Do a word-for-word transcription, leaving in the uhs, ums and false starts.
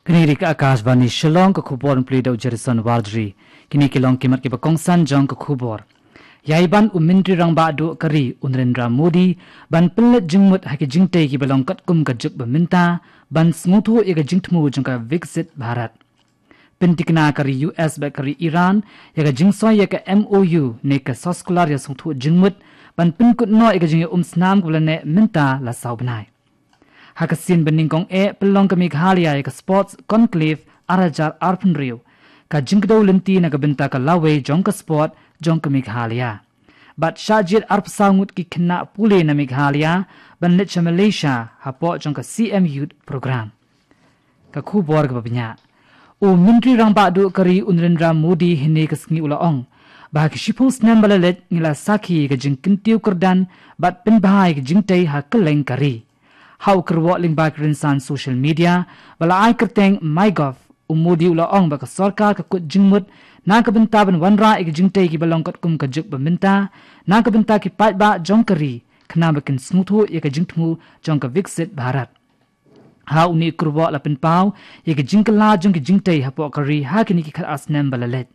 Kane ka Akashvani Shillong, ka khubor pule da u Jerison Warjri. Kine ki long ki mat kiba kongsan jong ka khubor. Ïai ban u Myntri Rangbah Duh ka ri u Narendra Modi ban pynleit jingmut ha ki jingtei kiba long katkum ka juk ba mynta ban sngewthuh ïa ka jingthmu jong ka Viksit Bharat. Pyntikna ka ri U S bad ka ri Iran ïa ka jingsoi ïa ka M O U ne ka soskular ïa sngewthuh jingmut ban pynkut noh ïa ka jingïaumsnam kaba la neh mynta la saw bnai. Ha ka sien ba nyngkong eh pynlong ka Meghalaya ïa ka Sports Conclave ar hajar arphew hynriew, ka jingkdew lynti na ka bynta ka lawei jong ka sport jong ka Meghalaya. Bad shah jied arphew saw ngut ki khynnah pule na Meghalaya ban leit sha Malaysia hapoh jong ka C M Youth Program. Ka khubor kaba bniah. U Myntri Rangbah Duh ka ri u Narendra Modi hynne ka sngi u la ong ba ha ki shiphew snem ba la leit ngi la sakhi ka jingkyntiew kyrdan bad pynbha ïa ka jingtei ha kylleng ka ri. Ha u kyrwoh lyngba ki rynsan social media ba la ai kyrteng MyGov, u Modi u la ong ba ka sorkar ka kut jingmut na ka bynta ban wanrah ïa ka jingtei kiba long katkum ka juk ba mynta na ka bynta ki paidbah jong ka ri, khnang ba kin sngewthuh ïa ka jingthmu jong ka Viksit Bharat. Ha une u kyrwoh la pynpaw ïa ka jingkylla jong ki jingtei hapoh ka ri ha kine ki khatar snem ba la leit.